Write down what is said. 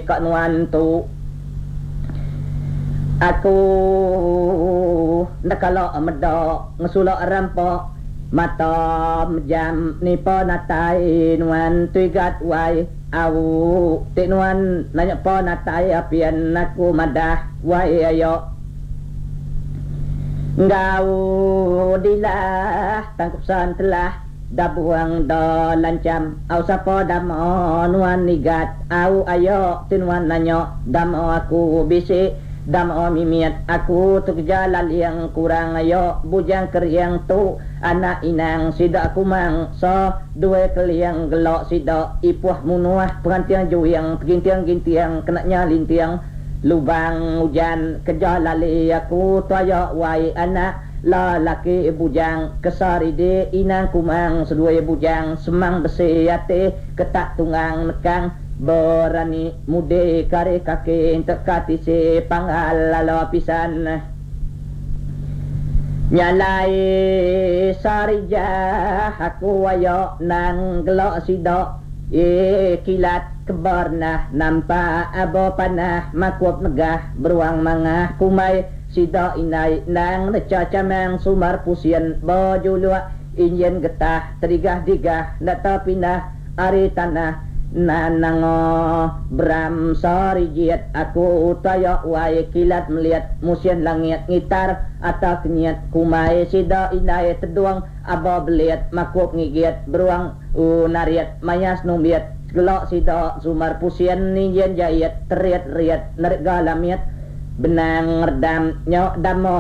ka nuan tu. Aku enda kala meda ngesula rampa mata mejam nipa natai nuan tu igat wai au ti nuan nanya pa natai apian aku madah wai ayo enggau dilah tangkup san telah dabuang da lancham au sapa dama nuan igat au ayo ti nuan nanya dama aku bisi dama mimit aku tu keja laling kurang ayo bujang kering tu anak inang sida kumang sa dua keling gelo sida ipuh munuh penganting juing peginting ginting kena nya linting lubang ujan keja lali aku tu ayo wai anak lelaki bujang kesaridi inang kumang seduai bujang semang besi ati ketak tunggang nekang berani mudi kari kaki teka tisi panggal lalu pisan nyalai sarijah aku ayo nang gelok sida e kilat kebarnah nampak abo panah makup megah beruang mangah kumai sida inai nang neca camang sumar pusien bejuluk injin getah terigah digah ndak pindah ari tanah nanango bram sarijit aku tayak wai kilat melihat musim langit ngitar atau kenyit kumai sida inai teduang aba belit makup ngigit beruang unariat mayas numbit gelak sida sumar pusien ninjen jahit terit riat nerga lamit benang redam nyok damo.